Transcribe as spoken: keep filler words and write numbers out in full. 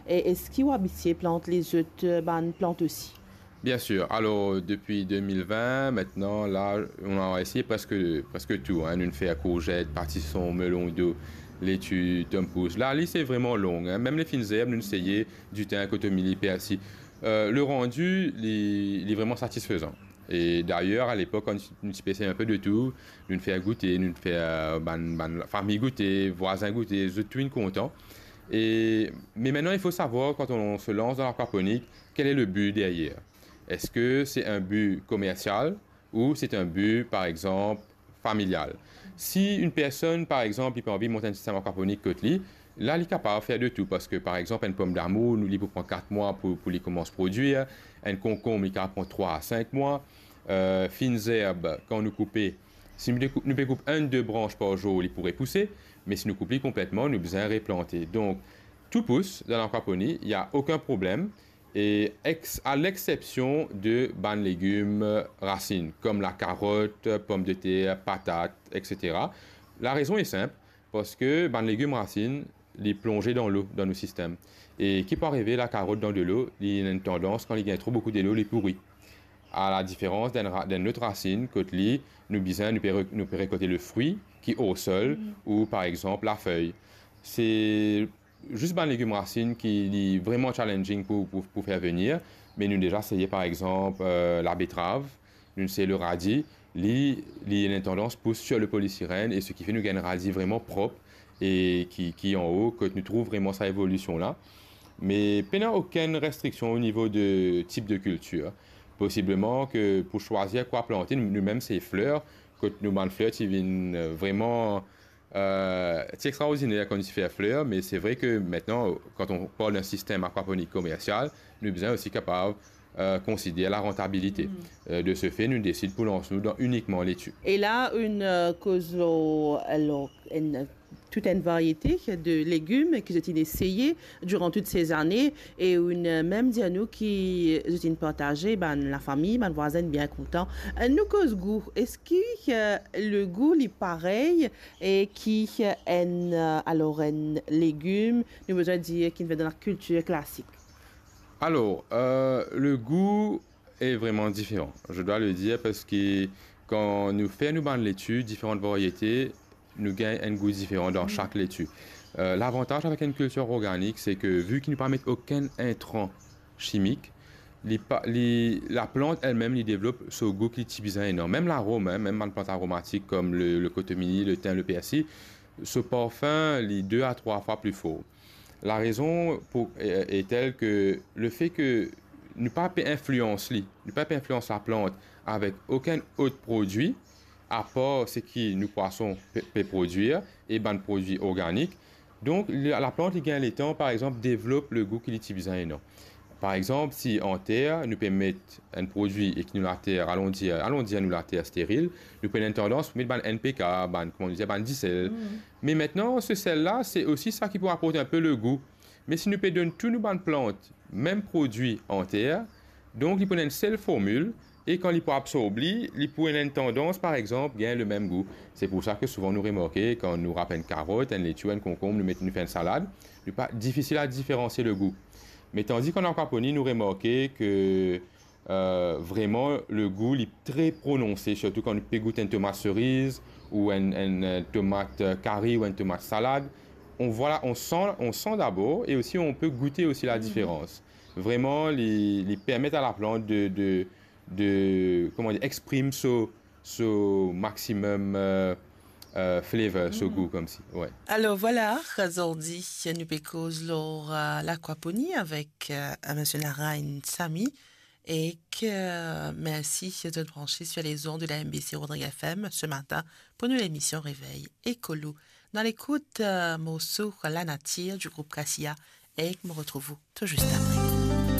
E eski ou abitie plant lezot, euh, bann plant osi? Bien sûr. Alors, depuis deux mille vingt, maintenant, là, on a essayé presque, presque tout, hein. Nous fait courgettes, pâtisson, melon d'eau, laitue, tom pousse. Là, li, c'est vraiment long, hein. Même les fines herbes, nous essayons du thym, kotomili, persil. Euh, le rendu, li, li vraiment satisfaisant. Et d'ailleurs, à l'époque, quand nous, nous essayons un peu de tout, nous fait goûter, nous fait, euh, bann, bann fami goûter, vwazin goûter, zot tou inn kontan. Et, mais maintenant, il faut savoir, quand on se lance dans l'aquaponie, quel est le but derrière? Est-ce que c'est un but commercial ou c'est un but, par exemple, familial? Si une personne, par exemple, li pe anvi mont enn sistem akwaponik kot li, la, li kapav fer de tou, parski, par exemple, enn pomdamour, nou, li pou pran kat mwa pou, pou li koumans prodwir, enn konkonm, li kapav pran trwa a sink mwa, euh, fine zerb, kan nou koupe, si nou pe koup, nou pe koup enn, de brans par zour, li pou repouse, me si nou koup li konpletman, nou bizin replante. Donk, tou pous dan lakwaponi, il y a aucun problème, et ex-, à l'exception de bann legim rasinn, comme la carotte, pomme de terre, patate, et cetera. La raison est simple, parski bann legim rasinn, li plonze dan lo, dan nou sistem. E ki pou arive, lakarot dan delo, li ena enn tandans, kan li gagn tro boukou delo, li pouri. A la diferans d'enn ra-, d'enn lot rasinn, kot li, nou bizin, nou pe re-, nou pe rekolte le fri ki o sol, ou par exanp, lafey. Se zis bann legim rasinn ki li vreman challenging pou, pou, pou fer vini, me nou deza seye, par exanp, euh, labetrav, nou seye le radi, li, li ena enn tandans pous sir le polisiren, e seki fer nou gagn enn radi vreman prop e ki, ki an-o, kot nou trouv vreman sa evolision la. Me pena okenn restriksion o nivo de tip de kiltir. Posibleman ke pou swazir kwa plante, nou, nou mem se fler, kot nou bann fler ti vinn, euh, vreman, euh, ti extraordiner kan nou ti fer fler, me se vre ke mintnan, kan on parl d'enn sistem akwaponik komersial, nou bizin osi kapav, euh, konsider larantabilite. Euh, de ce fait, nou desid pou lans nou dan inikman leti. E la, ou, euh, koz lor, alor, enn, tout enn variete de legim ki zot inn eseye diran tout se zane, e ou, euh, mem dir nou ki zot inn partaze, bann lafami, bann vwazin bien kontan. Euh, nou koz gou, eski, euh, le gou li parey e ki, euh, enn, euh, alor enn legim, nou bizin dir ki vinn dan lakiltir klasik? Alors, euh, le goût est vraiment différent, je dois le dire, parski kan nou fer nou bann leti, diferan variete, nou gagn enn gou diferan dan sak leti. Euh, lavantaz avek enn kiltir organik, se ke vi ki nou pa met okenn intran chimik, li pa, li, laplant elmem, li devlop so gou ki li ti bizin ena. Mem larom, hein, mem bann plant aromatik kom le, le kotomili, le tin, le persi, so parfin, li de a trwa fwa pli for. Larezon pou, e, e tel ke lefe ke nou pa pe inflians li, nou pa pe inflians laplant avek okenn ot prodwi, apar seki nou pwason pe, pe prodwir e bann prodwi organik. Donk, la, laplant, li gagn letan, par exanp, devlop le gou ki li ti bizin ena. Par exanp, si an ter, nou pe met enn prodwi e ki nou later, alon dir, alon dir nou later steril, nou pou ena enn tandans pou met bann N P K, bann, kouma nou dir, bann disel. Me mintnan, se sel la, se osi sa ki pou aport enn pe le gou. Me si nou pe donn tou nou bann plant mem prodwi an ter, donk li pou ena enn sel formil, e kan li pou absorb li, li pou ena enn tandans, par exanp, gagn le mem gou. Se pou sa ke souvan nou remarke, kan nou rap enn karot, enn leti, enn konkonm, nou met, nou fer enn salad, li pa difisil a diferansie le gou. Me tandi kan an akwaponi, nou remarke ke, euh, vreman, le gou, li tre prononse, sirtou kan nou pe gout enn tomat seriz, ou enn, enn, euh, tomat, euh, kari, ou enn tomat salad. On, vwala, on san, on san dabor, e osi on pe goute osi la diferans. Vreman, li, li permet a laplant de, de, de, kouma dir, exprim so, so maximum, euh, euh, flavor, so gou, koumsi. Wi. Alor, vwala, zordi, nou pe koz lor, euh, lakwaponi avek, euh, misie Narain Sami. E ke, euh, mersi de zot branche sur les ondes de la M B C Rodrigues F M ce matin pour nou lemision Réveil Ekolo. Nou al ekout, euh, morso La Nature du groupe Cassia, e mo retrouv ou tou zis apre.